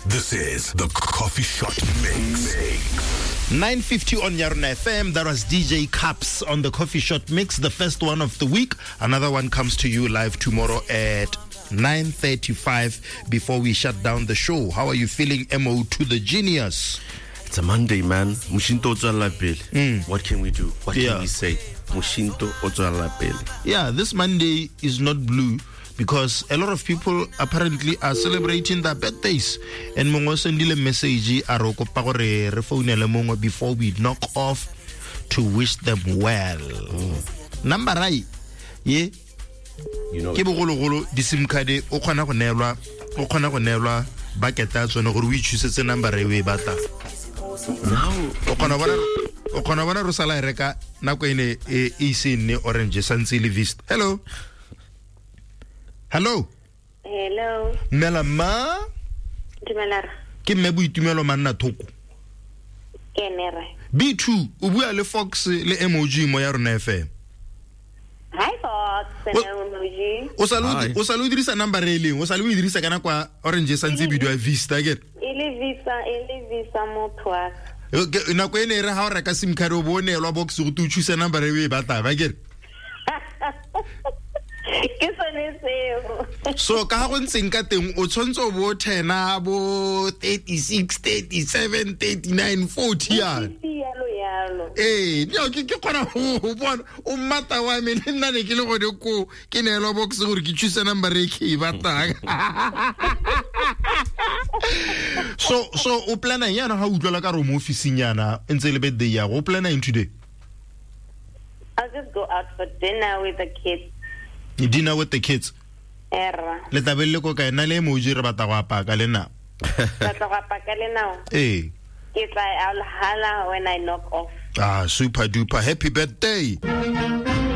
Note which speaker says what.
Speaker 1: This is the Coffee Shot Mix.
Speaker 2: 9:50 on Yarona FM. That was DJ Caps on the Coffee Shot Mix, the first one of the week. Another one comes to you live tomorrow at 9:35 before we shut down the show. How are you feeling, MO to the genius?
Speaker 3: It's a Monday, man. Moshinto o tswelela pele. What can we do? What can we say? Moshinto o tswelela pele.
Speaker 2: Yeah, this Monday is not blue because a lot of people apparently are celebrating their birthdays. And mongwe o sendile message a re o kopa gore re founele mongwe before we knock off to wish them well. Number ai ye
Speaker 3: You know
Speaker 2: ke bogologolo di-sim card o kgona go neelwa o kgona go neelwa bucket ya tsone gore o itshusetse number e o e batlang.
Speaker 3: Now
Speaker 2: O kgona bona o kgona bona re sala e reka nako ene e e ise e nne orange e santse e le vista. Hello. Hello.
Speaker 4: Hello,
Speaker 2: Mmela mma
Speaker 4: dumela rra.
Speaker 2: ke mme boitumelo manna thoko.
Speaker 4: Ke ene rra.
Speaker 2: B2 o bua le Fox le MOG mo ya rona FM.
Speaker 4: Hi Fox,
Speaker 2: O-
Speaker 4: and
Speaker 2: O sa le o
Speaker 3: Hi.
Speaker 2: di- o sa le o dirisa number e leng, o sa le o e dirisa ka nako ya orange e santse e bidiwa Vista ke.
Speaker 4: E le visa, e le visa motho wa ka.
Speaker 2: Nako e ne e re ha o reka sim card o bo o neelwa box go te o choose number e o e batlang ba kere.
Speaker 4: Ke sone seo.
Speaker 2: So ka ga go ntseng ka teng o tshwanetse o bo o thena bo 36, 37, 39, 40 yana.
Speaker 4: Ke yalo yalo.
Speaker 2: Ee, neo ke kgona go bona o mmata wa me le nna ne ke le gone koo ke neelwa box gore ke choose number e ke e batlang. So o plana eng yana ga o utlwela ka re o mo officing yana e ntse e le birthday ya go o plana eng today?
Speaker 4: I'll just go out for dinner with the kids.
Speaker 2: Dinner with the kids.
Speaker 4: Erra.
Speaker 2: Le tla be le le ko kae? Nna le emoji re batla go apaya ka lenao.
Speaker 4: Batla go apaya ka lenao.
Speaker 2: Ee.
Speaker 4: Ke tla I'll holla when I knock off.
Speaker 2: Ah, super duper happy birthday.